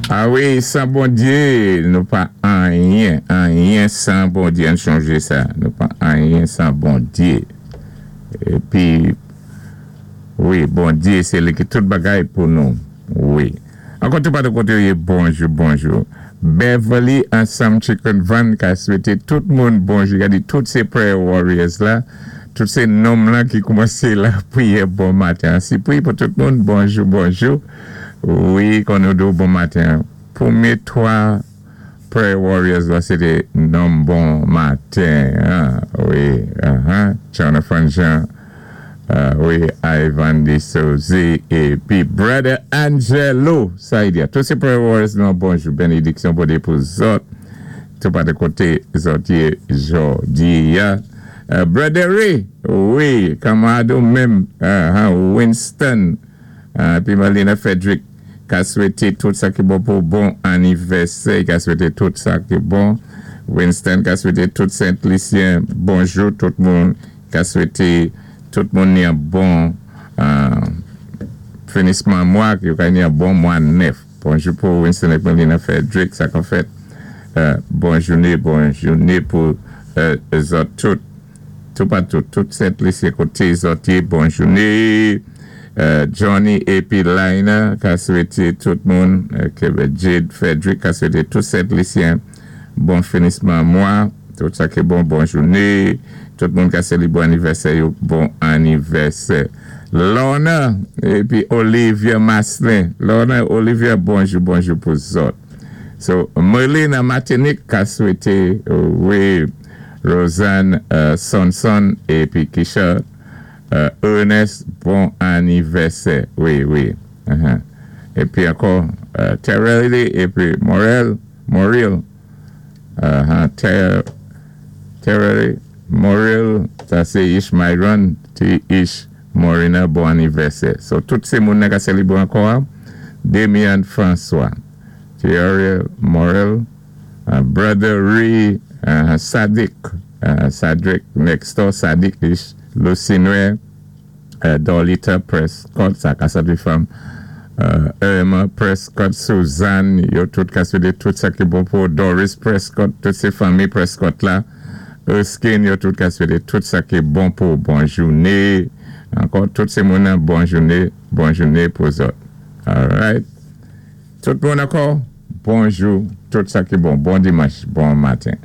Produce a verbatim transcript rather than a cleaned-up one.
A wi, san Bondyé, nou pa anyen, anyen san Bondyé, ann chonjé sa, nou pa anyen san Bondyé. Épi, wi, Bondyé, sé li ki tout bagay pou nou, wi. Ankò tout patou koté ou yé, bonjou, bonjou. Beverly ansanm Chicken Van ka swété tout moun bonjou. Gadi tout sé prayer warriors la, tout sé nonm la ki koumansé lapriyè bon maten. Si pri pou tout moun, bonjou, bonjou. Wi, kon nou di bon maten. Pwémyé twa prayer warriors la, sé té nonm bon maten. Hein? Wi, uh-huh. Jonathan Jean, uh, wi, Ivan de Souzy, épi Brother Angelo Saidia. Tout sé prayer warriors, nou, bonjou, bénidiksyon pou pou zòt. Tout patou koté zòt yé jòdi a. Uh, Brother Ray, wi, kanmarad menm, uh, Winston, uh, épi Marlena Frederick, ka swété tout sa ki bon pou bon anivèsè, ka swété tout sa ki bon. Winston ka swété tout Sent-Lisyen, bonjou tout moun, ka swété tout moun ni yon bon euh, finisman mwa, ki ka ni yon bon mwa nèf. Bonjou pou Winston épi Marlena Frederick, sa kon fèt. Euh, bon jouné, bon jouné pou euh, zòt tout. Tout patou, tout Sent-Lisyen koté zòt yé, bon jouné. Euh, Johnny épi Lina ka swété tout moun, euh, Jade Frederick ka swété tout Sent-Lisyen, bon finisman mwa, tout sa ki bon, bon jouné, tout moun ka sélébwé anivèsè, yo, bon anivèsè. Lorna épi Olivia Maslin, Lorna, Olivia, bonjou, bonjou pou zòt. So, Merlina Martinique ka swété, wi, Rosanne euh, Sonson épi Kisha euh, Ernest, bon anivèsè. Wi, wi. Uh-huh. Épi ankò, euh, Terrell épi Morel, Moril, uh-huh, Ter, Terrell, Moril, sa sé Ish Myron, T. Ish Morina, bon anivèsè. So, tout sé moun ka sélébwé ankò, Damien François, Thierry Morel, uh, Brother Ray, uh, Sadik, uh, Sadrick next door, Sadik Ish, Lucinue, uh, Dolita Prescott, sa ka sa fanm, uh, Irma Prescott, Suzanne, yo tout ka swété tout sa ki bon pou Doris Prescott, tout sé fanmi Prescott la, Erskine, yo tout ka swété tout sa ki bon pou bon jouné, ankò tout sé moun bon jouné, bon jouné pou zòt. All right. Tout moun ankò, bonjou, tout sa ki bon, bon dimanch, bon maten.